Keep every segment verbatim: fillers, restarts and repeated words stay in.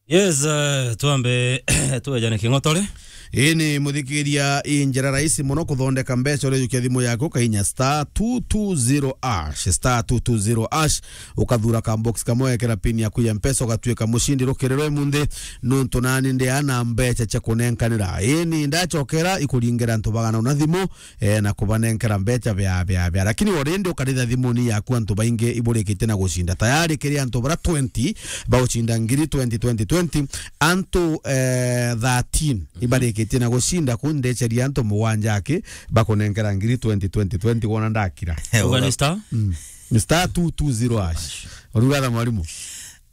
Yes, eh, twambe, twejane king'otore. Ii ni muthikiria, i njira rahisi muno kuthondeka mbeca urijukia thimu yaku, ukainya star two two zero hash, star two two zero hash, ukathura ka box kamwe, wekera pin yaku ya Mpesa, ugatuika mucindi rukiri rwa imunthi, nuntu nani ndi ana mbeca cia kunenkanira. Ii ni ndachokera ikuringira antu bagana una thimu, eh, na kubanenkera mbeca bia, bia, bia. Lakini already ukaritha thimuni yaku antu baingi iburikitie na gucinda. Tayari kiri antu bara twenty baucinda ngiri twenty twenty twenty, antu, eh, thirteen ibarikitie na gucinda ku ndeceria antu mugwanja aki bakunenkera ngiri twenty twenty twenty wona ndakira. Uga ni star? Mm. Star two two zero hash. Urugatha mwalimu.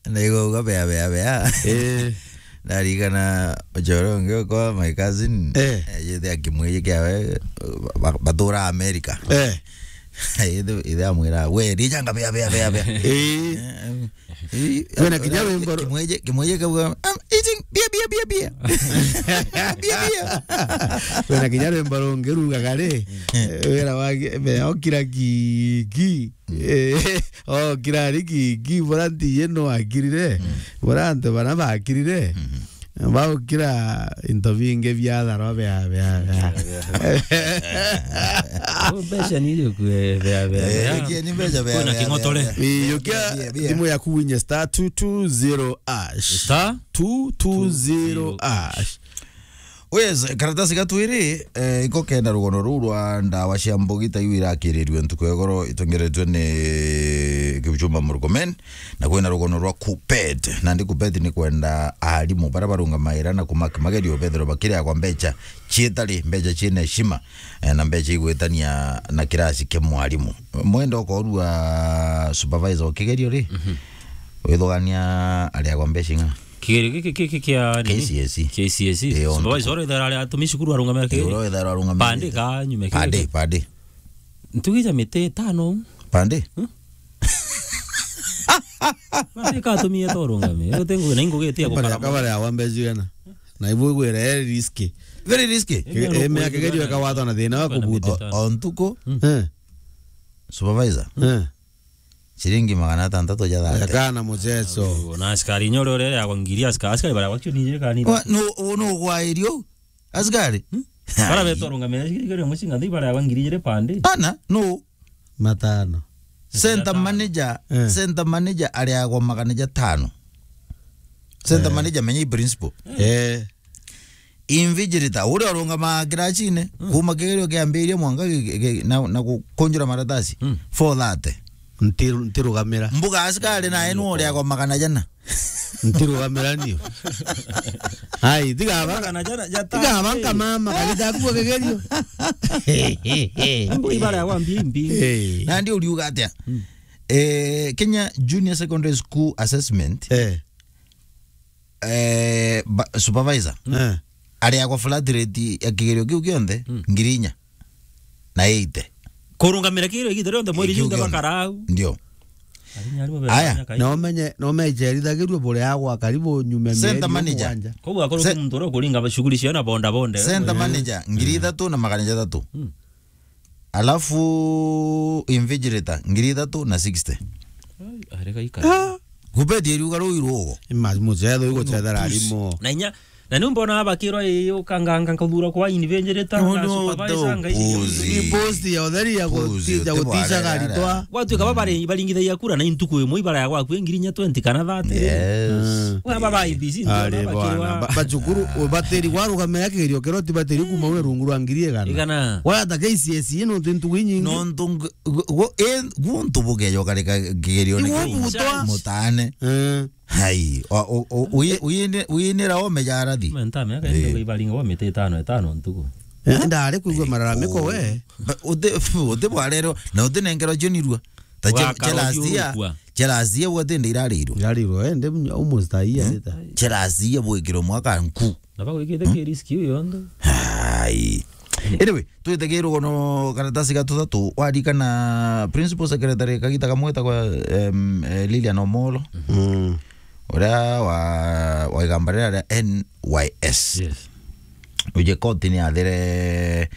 Ndaigua uga bea, bea, bea. Eh. Ndarigana ucoro ungi ukwa my cousin. Eh. Eh, yethe akimwiji kiawe, ba-, batura America. Eh. Ithe, ithe amwira, "We, rijanga bea, bea, bea, bea." Eh. Eh, eh, Kwina kinya eh, wimbo ru- kimwiji, kimwiji kauga, "I'm eating beer, beer, beer, beer." Beer, beer. Kwina kinya rwimbo rungi rugaga ri, eh, wira wa gi-, bea okira gi, gi. Eh, okira ari ki, ki, bora ntiye no akirire. Mm. Bora antu bara bakirire. Mm. Baukira into bingi bia tharo bia, bia, bia. Oh, mbeca ni irio kwe bia, bia, Eh, bia. Ikie ni mbeca bia, Kwina bia, king'otore. Bia, bia. Iukia Bia, bia. Thimu yaku winye star two two zero hash. Star? Two two zero hash. Yes, karatasi ga twiri, eh, iko kenda rugono ruu rwa ndawa cia mbugi ta iu irakirirue ntuku ya igoro itongeretwe ni Kipchumba Murkomen, na kwina rugono rwa KUPPET. Nandi KUPPET ni kwenda arimu bara barungamaira na kumaki magerio bethirwa bakiriagwa mbeca ciitari, mbeca ciina heshima, eh, na mbeca igwitania na kirasi kia mwarimu. Mwenda ukorua supervisor wa kigerio ri, Mhm. withugania ariagwa mbeca ing'a? Kigerio giki, giki kia nini? K C S E. K C S E. Ii, o Supervisor ntuku. Oro ithara aria atumi cukuru arungamira Ii, kigerio. Oro ithara arungamira Pande kigerio. Ka nyume Pande, kigerio. Pande. Ntugi ja miti itano. Pande? Hmm? Mati ka atumie to urungame. Ute ngugi na ingugi itia Kabare, gukara. Kabare ya wambe jigana. Na ibu igwira e risky. Very risky. Ii, Ii, mea kigerio ikawatwa na thina wa kubuta. O, o ntuku. Hmm. Eh. Supervisor. Eh. Ciringi magana atantatu ja thate. Kana muchecho. Na askari inya uria uria yagwa ngiri, aska-, askari baria gwakio nije kanira. Wa, no, no gwairio. Askari? Hmm? Bara Ai. Beto rungamira ciringi ria mucinga nthi bara yagwa ngiri ijiri pande. Ana, no. Matano. Center Matano. Manager, Eh. Center manager ariagwa magana jatano. Center Eh. Manager menya i principal. Eh. Invigilator, uria urungamaga kiracine, Mm. kuma kigerio kiambiria mwanka gi-, gi-, gi-, na, na gukunjura maratasi, Mm. four thirty. Ntiru-, ntirugamira. Mbuga askari nae nu uriagwa magana jana. Ntirugamira niu. Ai, tiga aba-, Magana jana, jatano, tiga aba eh. Nkamama, kagita kuo kigerio. Mbu ibara ya wambi imbi. Eh. Nandi uriuga atia? Mm. Eh, Kenya Junior Secondary School Assessment. Eh. Eh, ba-, supervisor. Eh. Ariagwa flat rate ya kigerio kiu kionthe, Mm. ngiri inya na eighty. Kurungamira kigerio igita rionthe mweri Kiu junthe kionthe. Bakarau. Ndio. Ari nyari mubere Aya. Banya kai. Na umenye, na umenye jerithagirue buriagwa karibu nyume Center mieri manager. Mugwanja. Koguo akorwo Se- ki muntu uria ukuringa shughuli cia na bonda bonda. Center Eh. manager, ngiri Mm. ithatu na magana jathatu. Mm. Alafu invigilator, ngiri ithatu na sixty. Ai, arega ikara. Ah. Kubetie riuga ruu irugo. Ima mucetho igo cethera Puss. Arimo. Na inya, na ni mbona abakirwa ii ukanganga nkathura kwa invigilator No, na no, supervisor no, ngai puss. Ni post ya utheri ya Puss, guti-, ya uti gutisha bwarera. Garitwa. Gwatuika baba bari-, baringithagia kura na intuku imwe ibara ya gwaku ngiri inya twenty kana thirty. Yes. Mm. Wa baba I B C ndio Ari abakirwa. Bwana. Ba-, bacukuru, bateri warugamira kigerio kiro ti bateri kuma ule rungu rwa ngiri igana. Igana. Waya ta K C S E no ntuku inyingi. No ntu-, gu-, gu-, e, guntu bugejo karika kigerio ni Iwe kiu. Butwa. Mutane. Eh. Hai, o, o, o, uyi-, uyine-, uyinira o mejarathi. Menta meka Eh. Ndio ibaringa wa mite itano, itano ntuku. Eh, ndare kuigua mararamiko we. Ba-, uti, uti bwarero, na uti nengero jonirua. Ta che-, Ugakara che last year, ukiurukua. Che last year wote ndirariro. Ndirariro, eh, nde almost a year later. Che last year bwikiro mwaka nku. Na bagwikite ki risk iu yonthe? Hai. Anyway, twite ki rugono karatasi ga tuthatu, warikana principal secretary kagita kamwe etagwa, em, eh, Lilian Omolo. Mm. Uria wa, wa igamba riria ria N Y S. Yes. Uje koti ni athire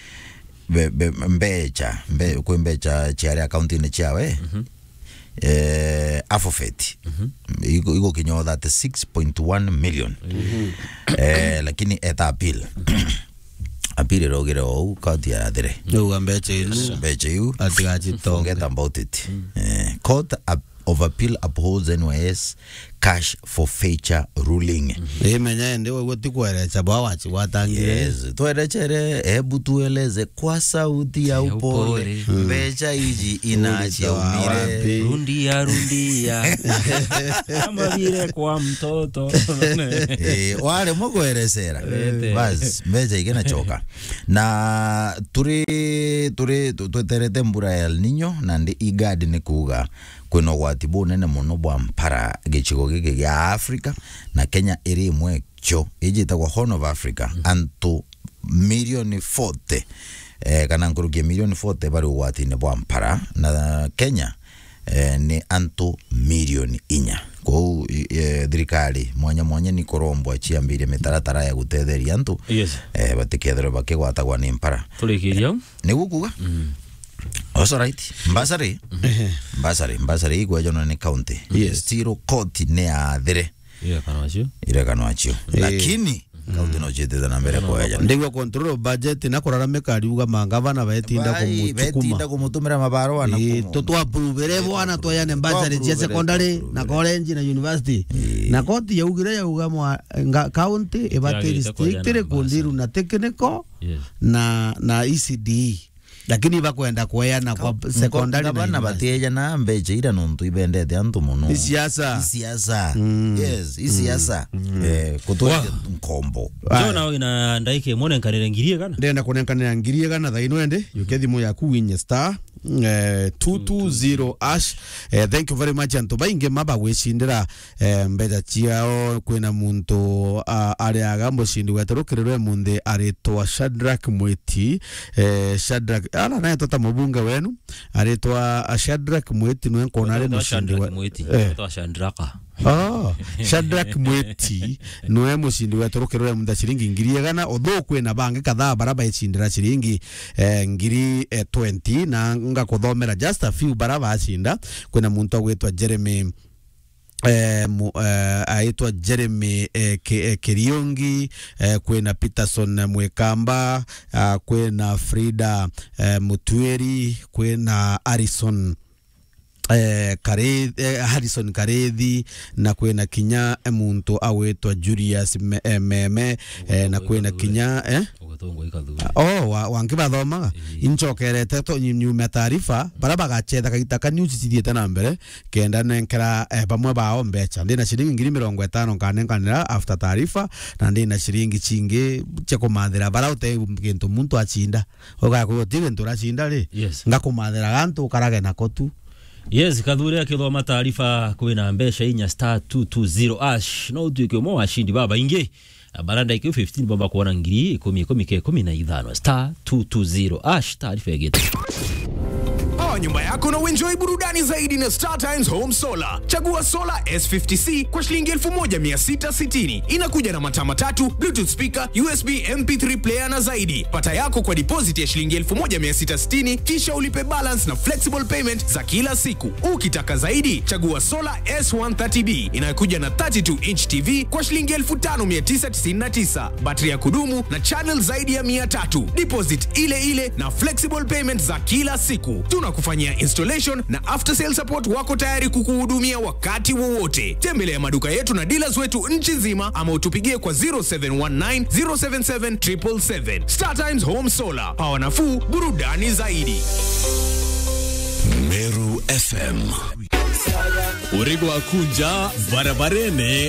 be-, be-, mbecha, mbe-, kwi mbecha ciari account-ini ciawe. Mhm. eh, a forfeit. Igo, igo kinyo thirty-six point one million. Eh, lakini eta appeal. Appeal irogire ou, court ya thire. Riu mbecha iu. Mbecha iu. Atigachitonge. Forget about it. Eh, court ap-, of appeal upholds N Y S cash forfeiture ruling. Imenya ende wewe ti kwerecha bwa wachi watangire. Yes, twerechere, ebu tueleze kwa sauti ya upole. Upole. Mbecha iji inachiaumire wapi? Rundia, rundia. Kama vile kwa mtoto. Eh, wale mugwerecera. Bas, mbecha igena choka. Na turi, turi, tu-, tweterete mbura ya El Nino, na ndi IGAD ni kuuga kwina ugwati bunene muno bwa mpara gicigo giki gia Afrika, na Kenya iri imwe cio, iji itagwa Horn of Africa, antu milioni forty, eh, kana nkuruki ya milioni forty bari ugwatine bwa mpara, na Kenya, eh, ni antu milioni inya. Kwou, i-, eh, thirikari mwanya mwanya ni kurombwa ciambirie mitaratara ya gutetheria antu, eh, batikethirwe bakigwatagwa ni mpara. Turikiria u? Niguo kuuga? That's all right. Mbasari. Mbasari, mbasari igwejanwa ni county. Yes. Still court ni yathire. Irekano acio. Irekano acio. Eh. Lakini, county no ciitite na mbere kweja. Ndigwa control of budget na kuraramika ariuga mangavana betinda kumuchukuma. Betinda kumutumira mabarua na kumu- tutwa approve bwana twayane mbasari cia secondary na college na university. Eh. Na koti yaugire yauga mwa-, nga-, county ibati restrict kundiru na technical na, na E C D E. Lakini bakwenda kweana kwa secondary na university. Bana batieja na mbecha ira nontu ibendete antu muno. Ni siasa. Ni siasa. Yes, ni siasa. Eh, kutueja nkombo. Jona wina ndaika imwe nenkanire ngiri igana. Ndenda kunenkanira ngiri igana thaino ende, yuke thimu yaku winye star, eh, two two zero hash. Eh, thank you very much antu baingi maba gwicindira eh, mbeca ciao. Kwina muntu, ah, ariaga mucindi wetu rukirirwe munthi aritwa Shadrack Mwiti. Eh, Shadrack, ala naetwa ta mubunge wenu, aritwa, ah, Shadrack Mwiti nwe nkona ari mucindi Shadrack we-, Mwiti, eh. Aitwa Shadraka. Oh, Shadrack Mwiti nwe mucindi wetu rukirirwe munthi ciringi ngiri igana. Although kwina bangi kadhaa bara baicindira ciringi, eh, ngiri, eh, twenty, na ngakuthomera just a few bara bacinda. Kwina muntu agwitwa Jeremy eh, mu-, eh, aitwa Jeremy, eh, Ki-, eh, Kiriungi, eh, kwina Peterson Mwikamba, ah, kwina Frida, eh, Mutwiri, kwina Harrison, eh, Kare-, eh, Harrison Karethi, na kwina kinya, eh, muntu agwitwa Julius Me-, eh, Meme, eh, na kwina kinya, eh? Ugatongwa ikathuri. Oh, wa, wangi bathomaga. Ii. Inchokerete to nyu-, nyuma taarifa, bara bagachetha kaita ka news cithiete na mbere, kenda nenkera, eh, bamwe bao mbecha. Ndina ciringi ngiri mirongo itano nkanenkanira after taarifa, na ndina ciringi cingi cia kumathira bara ute gintu muntu acinda. Ugakwigua ti gintu uracinda ri? Yes. Ngakumathira gantu ukarage nako tu. Yes, kathuri akithoma taarifa kwina mbecha inya star two two zero hash. No utuike umwe wa ashindi babaingi. Bara ndaika fifteen baba kuona ngiri ikumi, ikumi ke ikumi na ithano, star two two zero hash, taarifa ya getu. Power nyumba yako na uenjoy burudani zaidi na Star Times Home Solar. Chagua solar S fifty C kwa shilingi elfu moja mia sita sitini. Inakuja na mataa matatu, Bluetooth speaker, U S B M P three player na zaidi. Pata yako kwa deposit ya shilingi elfu moja mia sita sitini, kisha ulipe balance na flexible payment za kila siku. Ukitaka zaidi, chagua solar S one thirty B inayokuja na thirty-two inch T V kwa shilingi elfu tano mia tisa tisini na tisa, battery ya kudumu na channel zaidi ya mia tatu. Deposit ile ile na flexible payment za kila siku. Tunakufanyia installation na after sale support, wako tayari kukuhudumia wakati wowote. Tembelea maduka yetu na dealers wetu nchi nzima ama utupigie kwa zero seven one nine, zero seven seven, triple seven. Star Times Home Solar, power nafuu, burudani zaidi. Meru F M. Urego akunja barabarene.